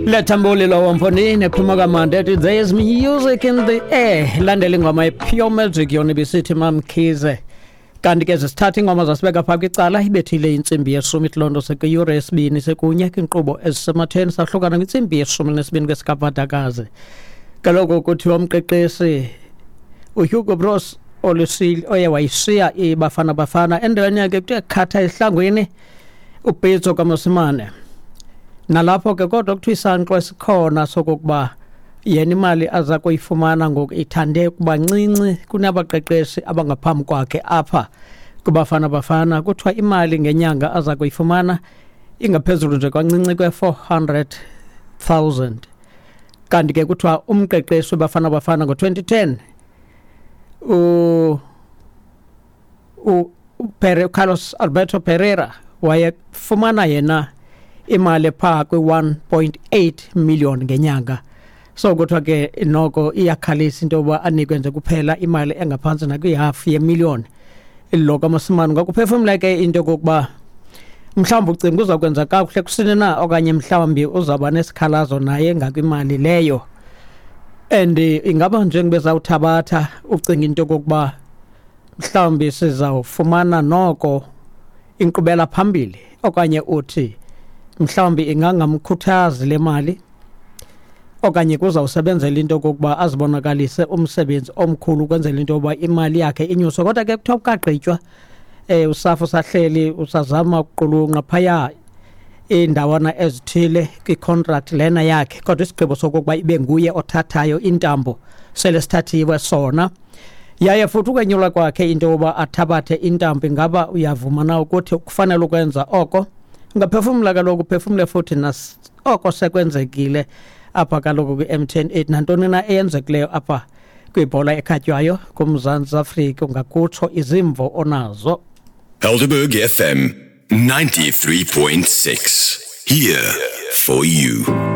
Lethambuli lowo mfondini ephuma kamandi ethi there is music in the air. Landela ingoma ye-pure magic yona ibisithi Mamkhize. Kanti ke zisithatha ingoma zasibeka phaa kwicala ibethile intsimbi yeshumi ithi loo nto sekwiyure yesibini sekunye kwiinkqubo ezisematheni sahlukana kwintsimbi yeshumi nesibini kwesikavadakazi. Kaloku kuthiwa umqeqeshi uHugo Broos olusile oye wayishiya iBafana Bafana endaweni yakhe kuthiwa khatha esihlangwini uPitso kaMosimane. Nalapho ke kodwa kuthiwa isankxwe esikhona sokokuba yena imali aza kuyifumana ngoku ithande ukuba ncinci kunabaqeqeshi abangaphambi kwakhe apha kuBafana Bafana. Kuthiwa imali ngenyanga aza kuyifumana ingaphezulu nje kwancinci kwe-400,000. Kanti ke kuthiwa umqeqeshi weBafana Bafana ngo-2010 u u Carlos Alberto Pereira wayefumana yena imali phaa kwi-1.8 million ngenyanga. So kuthiwa ke noko iyakhalisa into yoba anikwe nje kuphela imali engaphantsi nakwihafu yemillion lo kaMosimane. Ngokuphefumla ke into yokokuba mhlawumbi ucinga uzawukwenza kakuhle kusini na okanye mhlawumbi uzawuba nesikhalazo naye ngakwimali leyo. And ingaba njengoba ezawuthabatha ucinga into yokokuba mhlawumbi sizawufumana noko inkqubela phambili okanye uthi mhlawumbi ingangamkhuthazi le mali okanye kuzawusebenzela into yokokuba azibonakalise umsebenzi omkhulu ukwenzela into yokuba imali yakhe inyuswe. Kodwa ke kuthiwa kukagqitywa usafa usahleli usazama ukuqulunqa phaya iindawana ezithile kwicontract lena yakhe, kodwa isigqibo sokokuba ibe nguye othathayo intambo sele sithathiwe sona. Yaye futhi ukwenyulwa kwakhe into yokuba athabathe intambo, ingaba uyavuma na ukuthi kufanele ukwenza oko? Ungaphefumla kaloku, uphefumle futhi nas oko sekwenzekile apha kaloku kwi-MTN 8 nantoni na eyenzekileyo apha kwibhola ekhatywayo kuMzantsi Afrika, ungakutsho izimvo onazo. Helderberg FM 93.6. Here for you.